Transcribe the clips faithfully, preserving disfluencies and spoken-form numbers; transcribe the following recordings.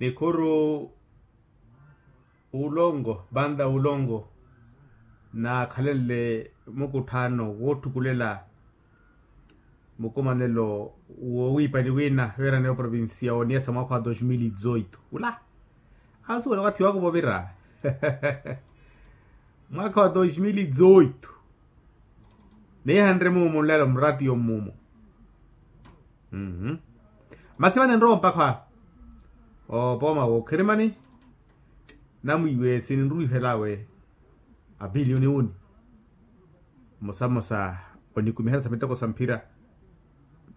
Nikhuru ulongo banda ulongo naakhalenle mukutthaano wootthukulela mukumanelo woowiipani wina weerana oprovincia oniyasa mwaakha wa dos mil e dezoito ula. Ansuwela okathi wakuva ovira mwaakha wa dos mil e dezoito. Niihanre muumu nlelo muratiyo mmuumu. Masi vane nrowa mpakha opooma wookhirimani. Namwiiwe sininruwihel'awe apiliyoni uni mmosa mmosa onikumiherya sa miteko sa mphira.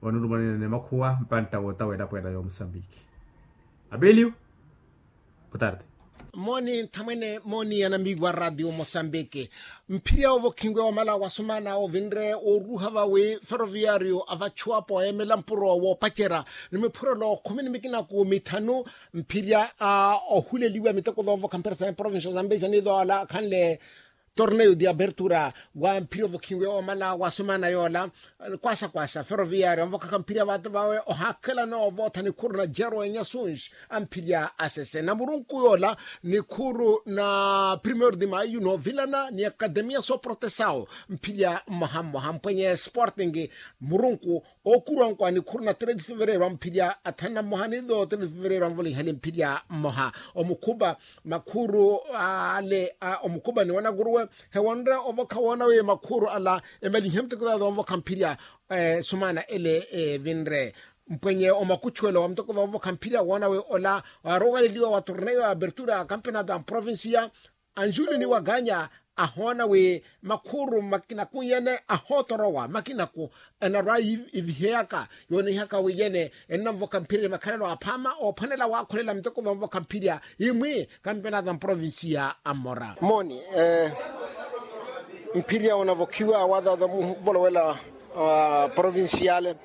Onirumanene makhuwa mpantta wootawa elapo ela y'omusambiki. Apiliyo. Boa tarde. Mooni nthamwene mooni anamiiwa radio mosambiki. Mphirya ovokhinwe omala wasumana ovinre oruha vawi ferroviario avachuwapo emela mpuro woopacerya ni miphurelo khumi ni mikinaku mithanu. Mphirya ohuleliwa miteko zoovokha mphira sa provincia zambezia ni zola khanle torneio de abertura wa mphirya ovokhinwe omala wasumana yola. Kwasa kwasa ferroviario anvokhaka mphirya vaata vawe ohaakhelana ovootha nikhuru na jero enyasunji a mphirya asese na murunku yoola nikhuru na primeiro de maio noovilana ni academia sooprotesao mphirya mmoha mmoha mpwenye sporting. Murunku ookuruwankwa nikhuru na trede fevereiro a mphirya athanu na mmoha ni zo trede fevereiro anvolihale mphirya mmoha. Omukhupa makhuru ale a omukhupa ni wanakuruwe hewonre ovokha woona wi makhuru ala emalihe muteko zaza onvokha mphirya sumana ele evinre. Mpwenye omakuchuwelo wa muteko zaza onvokha mphirya woona wi ola waarokaleliwa wa torneio ya abertura ya campeonato ya mprovincia anjuli ni wakanya ahoona wi makhuru makinaku yene ahootorowa makinaku enarwa iviheyaka yoonihaka wi yene ennanvoka mphirya ni makhalelo aphaama oophwanela waakhulela muteko zoonvoka mphirya imwi kampenato a mprovincia a mmora. Mooni mphirya onavokhiwa wazaza muvolowela provinciale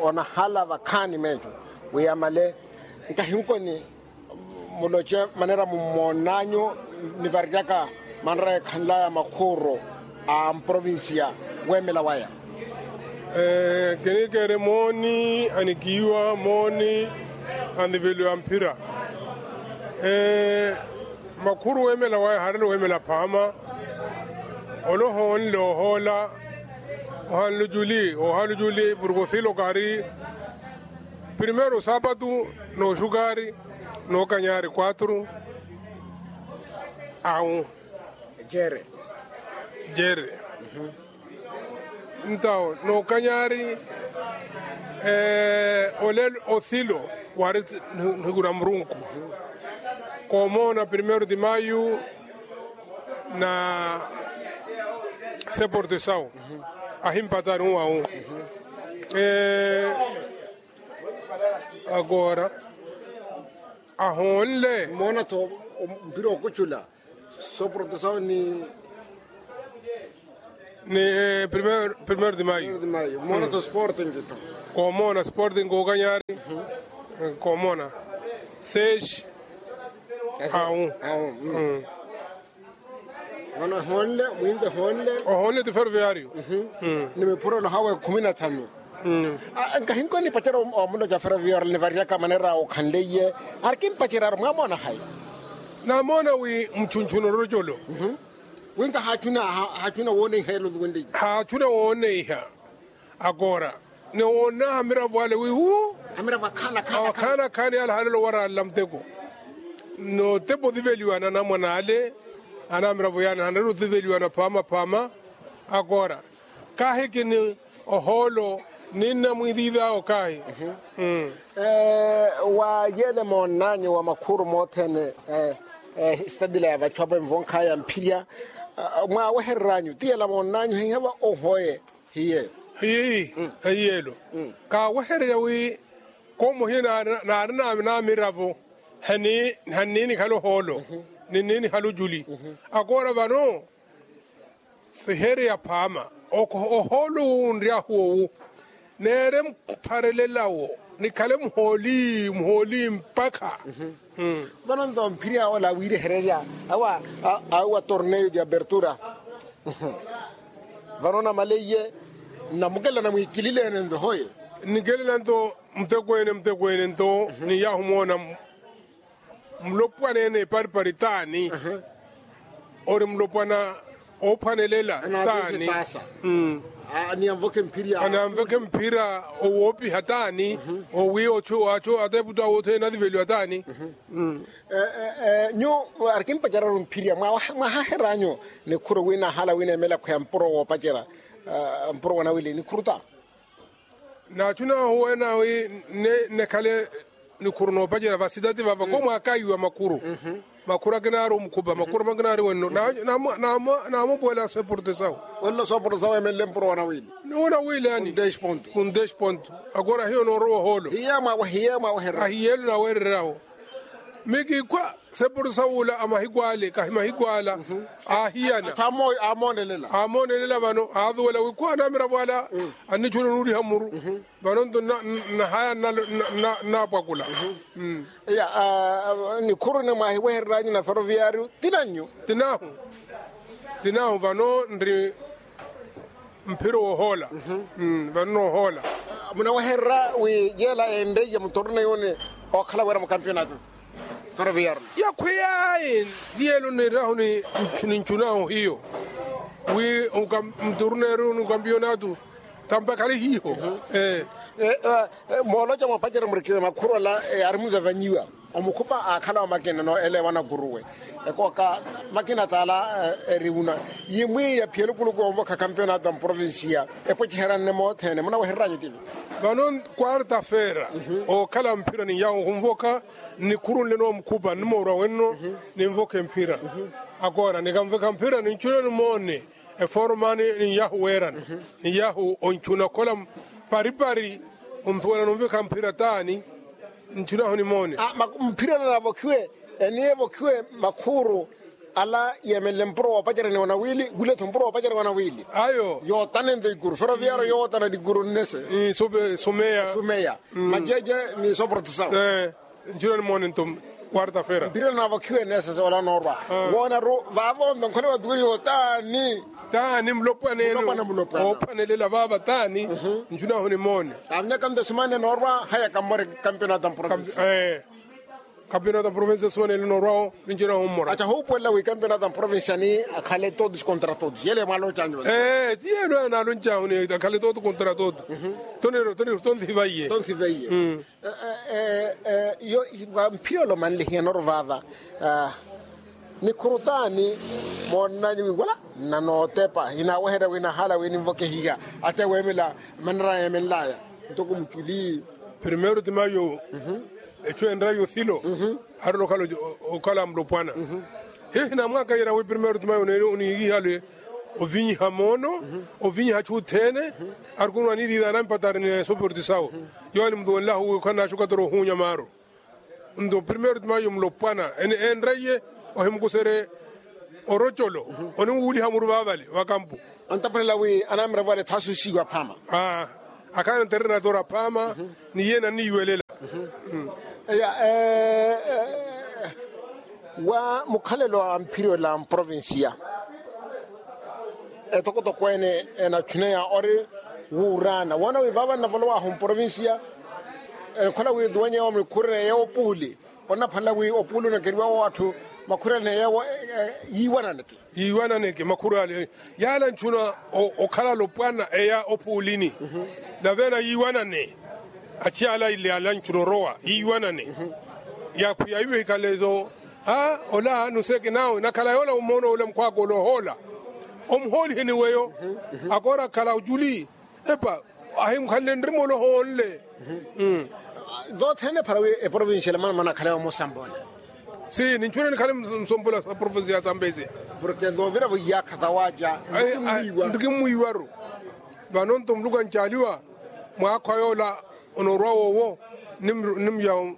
onahala vakhaani meeco wi amale nkahinkoni muloce manera mummoonanyu nivareryaka manera ekhanlaya makhuuru a mprovincia weemela waya. Kinikere mooni anikiiwa mooni aniveliwa mphira. Makhuuru weemela waya harelo weemela phaama. Ole ohoonle ohoola ohanlujuli ohanlujuli purukosilo kari primeiro sapatu nooxukaari nookanyari quatro. Awu jere jere. Ntawo nookanyari ole othilo wari nhikura murunku. Koomoona primeiro de maio na seporte sawu ahimpatari uwawu. Agora ahoonle moona-tho mpira okucula. Soprotesawo ni ni primeiro de maio moona-tho sporting. Koomoona sporting kookanyari koomoona seis. Awu. Mano ehoonle mwinve ehoonle. Ohoonle ti ferroviario. Ni miphurelo hawe khumi na thanu. Nkahinkoni pacerya omuloca ferroviario nivareryaka manera okhanleiye. Ari kimpacerya ari mwamoona hayi? Namoona wi muchunchuna orocolo. Winka haachuna haachuna wooneiha elo nluwenleiye. Haachuna wooneiha. Akora ni woonnaha miravo ale wiiwu. Amiravo akhaana akhaana akhaana akhaana yaale halelo waraalla muteko. Notepa othiveliwana anamwana ale anamiravo yaale hanarela othiveliwana phaama phaama. Akora kaahikini ohoolo ninna mwiithiithawo kaahi. Wa yeele moonnanyu wa makhuuru mothene. Esitadila ya vachu apa envonkhaya mphirya mwaawehereryanyu ti yela moonnanyu hiihe va ohoye. Hiye. Hiyi. Hiyelo kaawehererya wi koomohiye naari namiravo haninikhala ohoolo. Ninikhala ojuli. Akoora vano sihereya phaama ohoolo owu nryahu owu. Neere mpharelelawo nikhale muhooli muhooli mpakha. Vano nto mphirya ola wiirehererya awa awa torneio de abertura. Vano namalaiye nnamukelela namwiikilileene nto hoye. Nikelela nto mutekweene mutekweene nto niyahu moona. Mulopwana ene eparipari taani? Ori mulopwana oophwanelela taani? Ni anvokhe mphira owoopiha taani? Owi achu ateputu awo othene aniveliwa taani? Nyu arikimpacerya ori mphirya mwahaher'anyu nikhuru wi nahala wi neemela khweya mpuro woopacerya mpuro wanawili nikhuru taani? Nachu nahuwena wi nekhale nikhuru noopacerya vasitati vava komwakaiwa makhuru. Makhuru akinaari omukhupa makhuru makinaari wenno. Naamupuwela soporte sahu. Wenno soporte sahu emenle mpuro wanawili. Wanawili yani. Kundesh ponto. Akora hiyo noorowa ohoolo. Hiye mwawehereryahu. Mikikhwa sepuru sawula a mahiku ale kahi mahiku ala. Aahiyana. Amoonelela vano aathuwela wi khwa anamiravo ala annichuna onuuriha muru. Vano nto nahaya nnapwakula. Iya. Nikhuru ene mwaahiwehereryanyu na feroviyaariyu ti nannyu? Ti nahu. Ti nahu vano nri mphiro woohoola. Vano noohoola. Munawehererya wi yeela enreiye muturuna yuni ookhala wira mukampionato? Feroviyaariyu yakhwiyaayi. Ti yeela onirahu ni nchunahu hiyo wi muturuna yuni mukampionato. Tampakhale hiiho. Mooloca moopacerya murikina makhuru ala ari muzavanyiwa. Omukhupa aakhala wa makina no ele wanakuruwe. Ekooka makina taala eriwuna yimwi yaphiyela okuluku onvokha kampionato a mprovincia. Epwecheheryanne moothene munawehereryanyu tivi? Vano kwarta feera ookhala mphira ni yahu ohunvokha. Nnikhurunle no mukhupa nnimoorwa wenno. Ninvokhe mphira. Akoora nikanvekha mphira ninchuna nimoone. Eformani ni yahu weerana. Ni yahu onchuna okhola paripari. Onthuwela nonvekha mphira taani? Nchunahu nimoone. Mphira nanavokhiwe eni evokhiwe makhuru ala yeemenle mpuro woopacerya ni wanawili wile-tho mpuro woopacerya wanawili. Ayo yootana ento ikuru feroviyaariyu yootana ni ikuru nnese. Sumeya. Majeje ni soporte sawu. Ncira nimoone nto kwarta fera. Mpira naavokhiwe nesese wala noorwa woonaru vaavo nto nkhole watukuriho taani? Taani mulopwana ene. Oophwanelela vaava taani? Ncunahu nimoone. Kaavonyaka nto esumanne noorwa haya kammore. Kampionato a mprovincia. Kampionato a mprovincia esumanne noorwa-wo. Nincunahu mmora acha huupuwelela wi kampionato a mprovincia ni akhale todos contra todos yele mwaalocanyu? Ti yelo anaaloncahu ni akhale todos contra todos. Toniro toniro tonthivaiye. Tonthivaiye. Yo mphiyolo manlihiya noro vaava. Nikhuru taani? Moonnanyu wi wala nnanootepa hinaaweherya wi nahaala wi ninvokehiha. Ate weemela manera yeemenlaya ntoko muchuli. Primeiro ti mayo echu enrayo thilo arina okhala mulopwana. Hiyo hinamwakayerya wi primeiro ti mayo neeri oniihihale ovinyiha moono ovinyiha achu othene. Arikunu anilila anampatari ni esoporti sawo. Yowo animuthuwenlahu wi okhala naaxukatora ohuunya maaru. Nto primeiro ti mayo mulopwana enreiye ohimukusere orocolo oniwuuliha muru vaavale vakampu. Antaphwanela wi anamiravo ale thaasusiwa phaama. Akhala nterena toora phaama ni yeene anniiwelela. Eya wa mukhalelo a mphiriola mprovincia etokotoko ene enachuneya ori wuuraana woona wi vaava nnavolowahu mprovincia. Enkhola wi nduwenyewo mikhurene yeewo opuuli onnaphwanela wi opuuli onakeriwawo atthu makhurene yeewo yiiwananeke. Yiiwananeke makhuru ale yaala nchuna okhala alopwana eya opuulini. Nave ena yiiwanane achiyala ile ala nchuna orowa yiiwanane. Yakhwiya iwe hikhalezo a ola nuseke nawe nakhala yoola omoona ole mukhwaaka ole ohoola omuhooliheni weyo. Akoora akhala ojuli epa ahimukhanle nrima ole ohoonle. Zothene para wi eprovincia ela mana manakhalewa musambula. Si ninchuna nikhale musambula sa provincia ya sambezia. Porke zoviravo iyaakha zawaja ndikimwiiwaru. Vano nto muluku ancaaliwa mwaakhwa yoola onoorwa wowo. Nimuya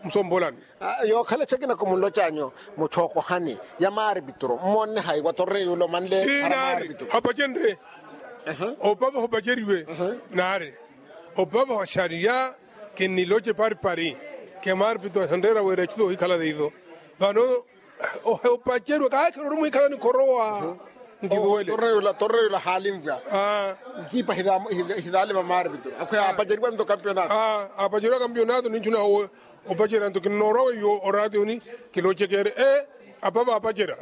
musombolani. Yookhala echekinako munlocanyu muchookohani ya maaripituru mmonne haiwa torre yuulo manle. Hapacenre opava hopaceriwe naari opava oxariya. Kinniloce paripari ke maaripituru ahenreera wira echuto ohikhala teiso. Vano opaceriwe kaakhiroru muhikhala nikhorowa. Nkivuwele torre yuulo haali nvwa. Nkiipa hithaalima maaripituru akhweya apaceriwa nto kampionato. Apaceriwa kampionato ninchunaho. Opacerya nto kinnoorwa weiwo oraationi. Kilocekeerye e apa vaapacerya.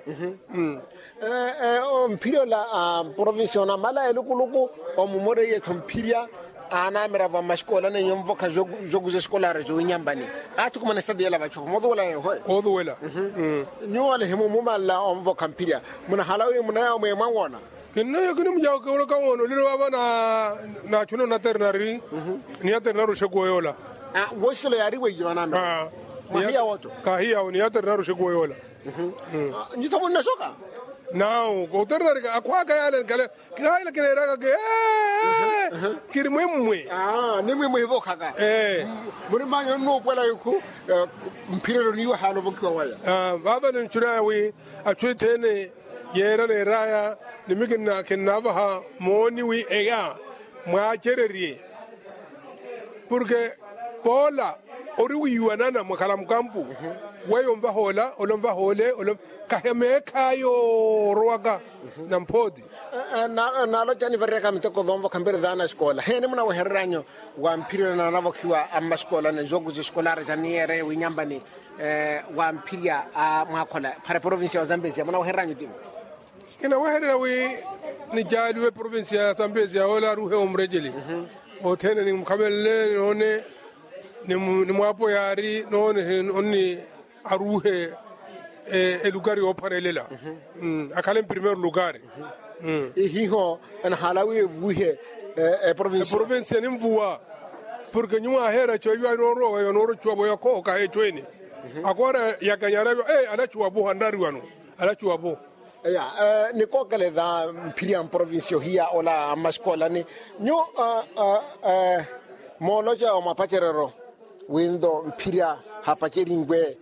Mphirya ola a provincia onamala elukuluku omumoreye-tho mphirya. Anamiravo a mmaxikola nenyu onvokha jokuza eskolari jowinyambani athukumana estadi yela vachu motuwela yeho. Otuwela. Nyuwo alehimu mumanla onvokha mphirya munahala wi munaya omwemwa wona. Kinnayo kinimujawo kiwoloka woona olilo vava na nachuna onaternari. Ni aternari oxekuwa yola. Wosiselo yaari weiyo anamira mwahiya woto. Kahiyawo ni aternari oxekuwa yola. Nyitho munnaxoka. Nawu koternari akhwaka yale nkale. Kihayela kineeraka ke kiri mwimwi. Ni mwimwi hivokhaka. Muri manyo nnuupwela ikhu. Mphirelo niiwe haana ovokhiwa waya. Vava ninchunaya wi achu ethene yeera neeraya ni mi kinnaavaha mooni wi eya mwaacererye. Porke poola ori wiiwanana mwakhala mukampu. Weyo onvaha ola ola onvaha ole ola kahi meekha ayo orowaka. Nampooti. Naaloca nivareyaka miteko thoonvokha mbiri thaana axikola heeni munawehereranyu? Wa mphirya naanavokhiwa a mmaxikola ni jokuza eskolari janiyeereye winyambani. Wa mphirya a mwaakhola phara eprovincia ya ozambesia munawehereranyu tivo? Kinawehererya wi nicaaliwe eprovincia ya ozambesia ola aruhe omurejeli. Othene nimukhamelele noone ni mwaapo yaari noone onni aruuhe elukari yoophwanelela. Akhale mprimeiro lukari. Ihiho anahala wi evuwihe eprovincia. Eprovincia ninvuwa. Porke nyuwo aheera echo eyo anoorowa weyo anoorowa echuwa vo yakhooka echo ene. Akoora yakanyara eyo anachuwa vo anrari wano. Anachuwa vo. Eya. Nikookeleza mphirya mprovincia ohiya ola a mmaxikoolani. Nyu mooloca omwapacerero wi nto mphirya hapaceriwe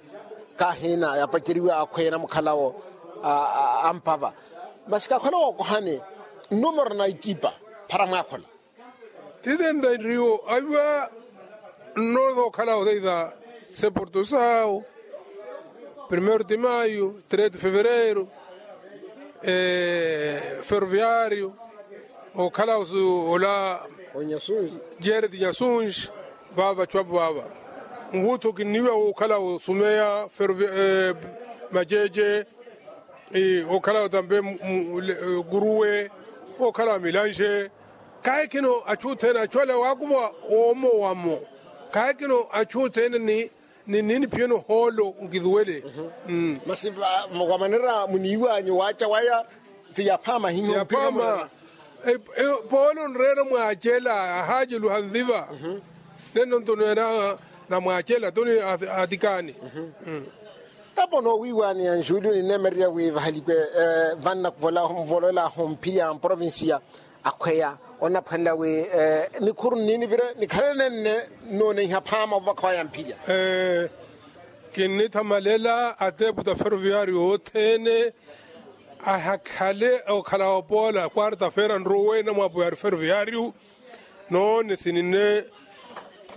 kahiina yapaceriwe akhweya namukhalawo ampava. Masi kakhwela wookohani nnumero na ikipa phara mwaakhola. Titenta nriwo aviwa nnoothookhala otheiva seporto sawo. Primeiro de maio, três de fevereiro, ferroviário okhala ola. Jared nyasunji. Vava vachu apo vava nvutho kinniwa wokhala osumeya. Majeje okhala otambe kuruwe okhala milanxe. Kaahikino achu othene achu ale waakuva woomo wamo. Kaahikino achu othene ni niini phiyeno hoolo nkithuwele. Masi wa manera muniiwanyu waacha waya ti yaphaama hiho. Poolo nreera mwaacela ahaaceluha nviva. Neno nto neera na mwaacela toni atikaani. Tapo noowiiwaani ya nxuuli onineemererya wi vahalikwe vanna nvolola ahomphirya mprovincia akhweya onaphwanela wi nikhuru nniinivire nikhale nenne nooneiha phaama ovakha waya mphirya. Kinnithamalela ateeputa ferroviario othene ahakhale okhala opoola quarta feira nrowe namwaapo yaari ferroviario. Noone sinine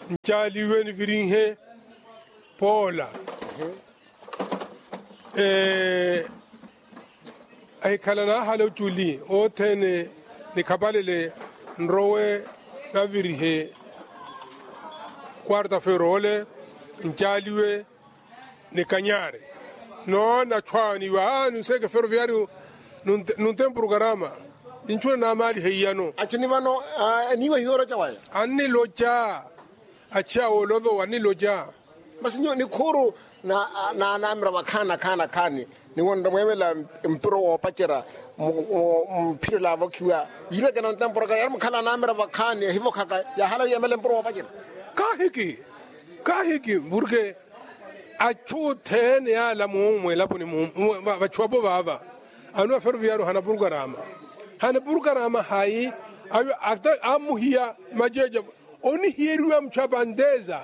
ncaaliwe nivirinhe poola. Ahikhala naahala oculi othene nikhapalele nrowe navirihe quarta feira ole ncaaliwe nikanyari. Noona achwaawe niiwa aa nunseeke ferroviario nuntempu rukarama. Ninchuna naamaalihe iyano. Achuni vano eniiwa hiyo oloca waya. Anniloca. Achiya woolovo wanniloca. Masi nyuwo nikhuuru naanaamira vakhaani nakhaani nakhaani. Niwonre mweemela mpiro woopacerya mphiro laavokhiwa yirweke nantemporokera yari mukhala anaamira vakhaani ehivokhaka yahala yeemela mpiro woopacerya. Kaahiki kaahiki porke achu othene yaala moomu mwelaponi vachu apo vaava. Anuwa ferroviario hana purkarama hana purkarama hayi. Amuhiya majeja onihiyeriwa muchapanteza.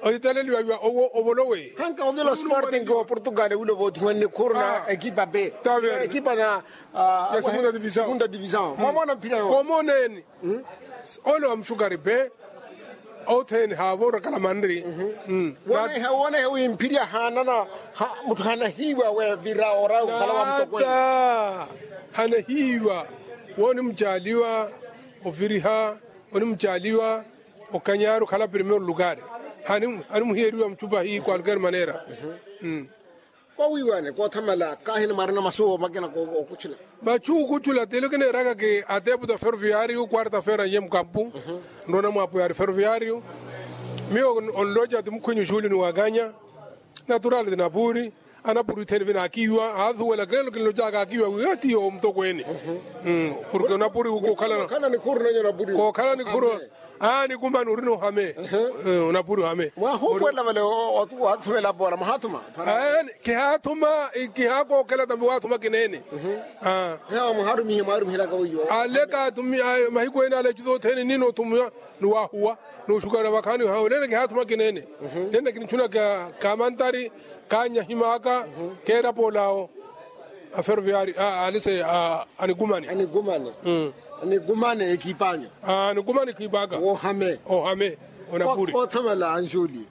Ohitaleliwa iwa ovolowe hanka ovila osporting wa portugal wilo voothiwa nnikhuru na ekipa pe ekipa na segunda division. Mwamona mphira yo komoneni ole wa muxukari pe. Othene haavo orakala manri. Wonehe wi mphirya haanana mutthu hanahiiwa wevira ora okhala wa mutokwene. Hanahiiwa wonimucaaliwa oviriha onimucaaliwa okanyari okhala primeiro lukari. Animuhiyeriwa muchupa hii kwalukeri manera. Kowiiwane koothamala kaahina mwarina masu makina okuchula. Machu okuchula telo kineeraka ki atepu ta ferroviario kwarta fera nye mukampu. Nrona mwapu yari ferroviario. Miyo onloja ti mukhwinyu xuli ni wakanya. Naturali ti napuri. Anapuri ithene vina akiiwa aathuwela kelo kinlojaka akiiwa wiyo tiyo omutokweene. Porke onapuri kokhala nikhuru. Aa nikumani ori n'ohame. Onapuri ohame. Mwahupwelela vale. Wathumela pora mwahathuma. Kihaathuma. Kihaakokhela tambi waathuma kineene. Aleka mahiku ene ale ecu sothene nino othumiwa. Ni wahuwa. Ni oxukana vakhaani hawe nene kihaathuma kineene. Nene kinichuna kamantari. Kaanyahimaka. Keerapolaawo. Aferoviari alise. Anikumani. Anikumani ekipanyo. Anikumani ekipanyo. Ohame. Ohame. Onapuri. Othamala anjuli.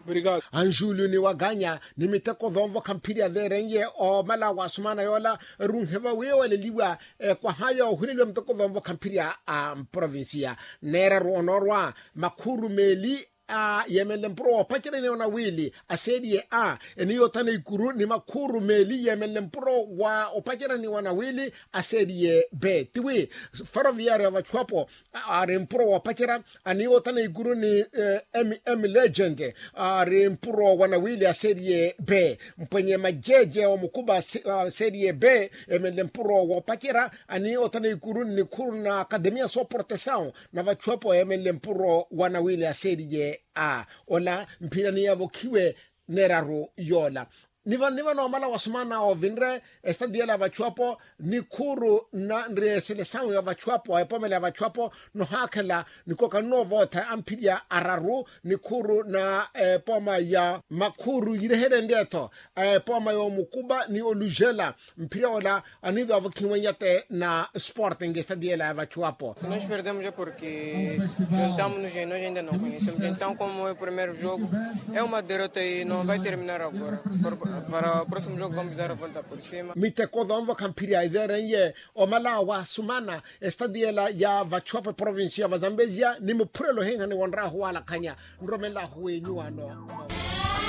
Anjuli ni wakanya ni miteko vonvo khamphiri aveerenye omala wa sumana yola. Runhe vawiiwaleliwa. Kwaha yoohuleliwa miteko vonvo khamphiri a mprovincia. Neeraru onoorwa makhuru meeli a yeemenle mpuro woopacerya ni onawili aseeriye a. Eni yothana ikuru ni makhuru meeli yeemenle mpuro wa opacerya ni onawili aseeriye be tiwi. Ferroviario ya vachuapo ari mpuro woopacerya ani yothana ikuru ni mm legend ari mpuro wanawili aseeriye be mpwenye majeje omukuba aseeriye be. Yeemenle mpuro woopacerya ani yothana ikuru ni nikhuru na akademia sooportesawu na vachuapo yeemenle mpuro wanawili aseeriye a. Ola mphira ni yavokhiwe neeraru yoola. Ni vano ni vano omala wa sumana ovinre esitati yela ya vachuapo nikhuru na nri eselesawu ya vachuapo epomela ya vachuapo. Nohaakhela nikoka nnoovotha amphirya araru nikhuru na epoma ya makhuru yireherenrye-tho epoma ya omukuba ni olujela. Mphira ola aniiva avokhiwenya te na sporting esitati yela ya vachuapo. Nós perdemos porque juntamos-nos e nós ainda não conhecemos. Então, como é o primeiro jogo, é uma derrota e não vai terminar agora. Para o próximo jogo, vamos dar a volta por cima. Miteko vanvo khamphirya iveerenye omala wa sumana esitati yela ya vachuapo eprovincia ya vazambezia ni muphurelo ohinha ni wonrahu walakhanya. Nromelahu wenyu wano.